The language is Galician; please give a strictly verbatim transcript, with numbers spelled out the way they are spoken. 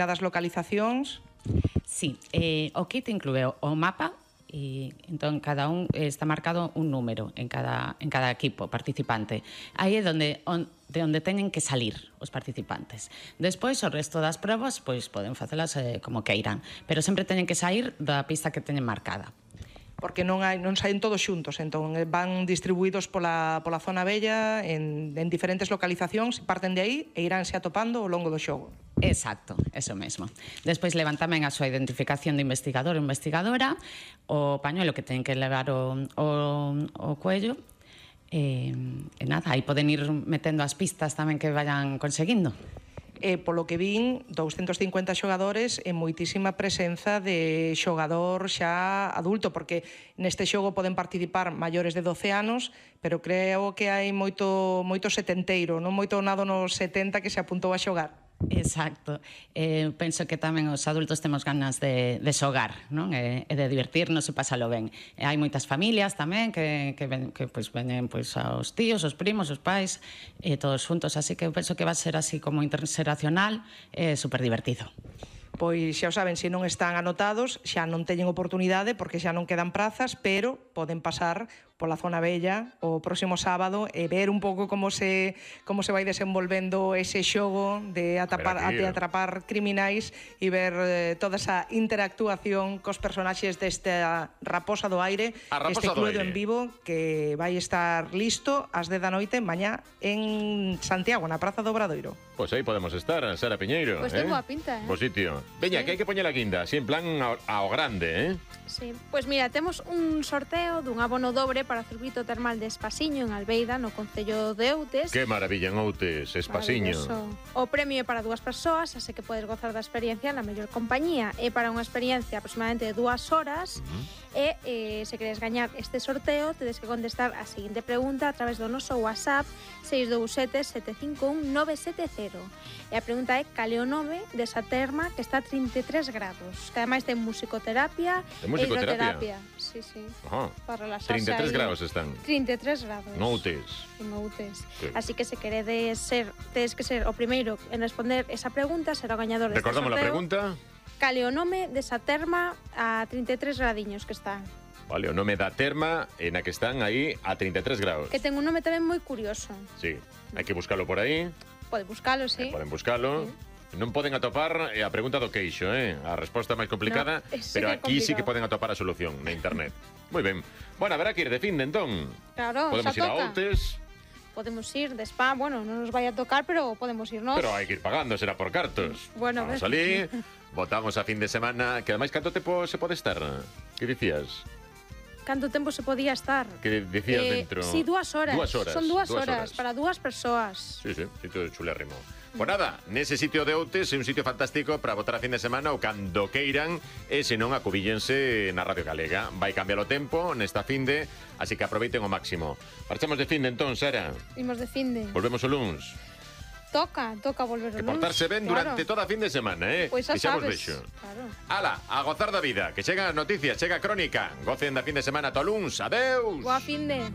das localizacións. Sí, eh, o kit inclúe o mapa e entón cada un está marcado un número en cada, en cada equipo participante. Aí é donde, on, de onde teñen que salir os participantes. Despois, o resto das probas, pois poden facelas eh, como queiran, pero sempre teñen que sair da pista que teñen marcada. Porque non hai non saen todos xuntos, entón van distribuídos pola, pola zona bella en, en diferentes localizacións, parten de aí e iránse atopando ao longo do xogo. Exacto, eso mesmo. Despois levan tamén a súa identificación de investigador ou investigadora, o pañuelo que teñen que levar o, o, o cuello, e, e nada, aí poden ir metendo as pistas tamén que vayan conseguindo. E, polo que vin, doscientos cincuenta xogadores e moitísima presenza de xogador xa adulto, porque neste xogo poden participar maiores de doce anos, pero creo que hai moito, moito setenteiro, non moito nado nos setenta que se apuntou a xogar. Exacto. Eh, penso que tamén os adultos temos ganas de, de xogar, non? E, e de divertirnos e pasalo ben. E hai moitas familias tamén que, que, ven, que pues, veñen pues, aos tíos, os primos, os pais, e todos juntos, así que penso que va a ser así como interxeracional e super divertido. Pois xa o saben, se non están anotados, xa non teñen oportunidade porque xa non quedan prazas, pero poden pasar pola zona bella o próximo sábado e ver un pouco como se como se vai desenvolvendo ese xogo de atapar, de atrapar criminais e ver eh, toda esa interactuación cos personaxes desta Raposa do Aire, este cluedo en vivo que vai estar listo ás dez da noite mañá en Santiago, na Praza do Obradoiro. Pois aí podemos estar, Sara Piñeiro. Pois ten boa pinta, eh? Bo sitio. Veña, que hai que poñer a guinda, así en plan ao, ao grande, eh? Sí, pois mira, temos un sorteo dun abono dobre para o circuito termal de Espasiño en Albeida, no concello de Outes. Que maravilla en Outes, Espasiño. O premio é para dúas persoas, así que podes gozar da experiencia na mellor compañía. É para unha experiencia aproximadamente de dúas horas. Uh-huh. E eh, se queres gañar este sorteo, tedes que contestar a seguinte pregunta a través do noso WhatsApp seis dous sete, sete cinco un, nove sete cero. E a pregunta é cal é o nome desa terma que está a trinta e tres grados, que ademais ten musicoterapia e hidroterapia. Sí, sí. Ajá. Para relaxarse. trinta e tres ahí. grados están. trinta e tres grados. En Outes. En Outes. Sí. Así que se queredes ser, tedes que ser o primeiro en responder esa pregunta, será o gañador deste sorteo. Recordamos a pregunta. Cal é o nome desa terma a trinta e tres gradiños que está. Vale, o nome da terma en a que están aí a trinta e tres grados. Que ten un nome tamén moi curioso. Sí, hai que buscalo por aí. Pode buscalo, sí. Eh, poden buscalo. Sí. Non poden atopar eh, a pregunta do queixo, eh? A resposta máis complicada, no, sí pero aquí complicado. sí que poden atopar a solución na internet. Moi ben. Bueno, haberá que ir de fin de entón. Claro, podemos ir toca. a Outes. Podemos ir de spa, bueno, non nos vai a tocar, pero podemos irnos. Pero hai que ir pagando, será por cartos. Bueno, vamos a salir, votamos a fin de semana, que ademais canto tempo se pode estar? Que dicías? Canto tempo se podía estar? Que dicías eh, dentro? Sí, dúas horas. Dúas horas. Son dúas, dúas horas, horas para dúas persoas. Sí, sí, sitio de chulérrimo. Pues nada, nese sitio de Outes é un sitio fantástico para votar a fin de semana ou cando queiran, e se non acubillense na Radio Galega. Vai cambiar o tempo nesta finde, así que aproveiten o máximo. Marchamos de finde entón, Sara. Imos de finde. Volvemos o luns. Toca, toca volver o luns. Que portarse ben claro. durante toda a fin de semana, eh? Pois xa que xa vos sabes. vexo. Claro. Ala, a gozar da vida, que chegan as noticias, chega a crónica. Gocen da fin de semana to luns. Adeus. Boa finde.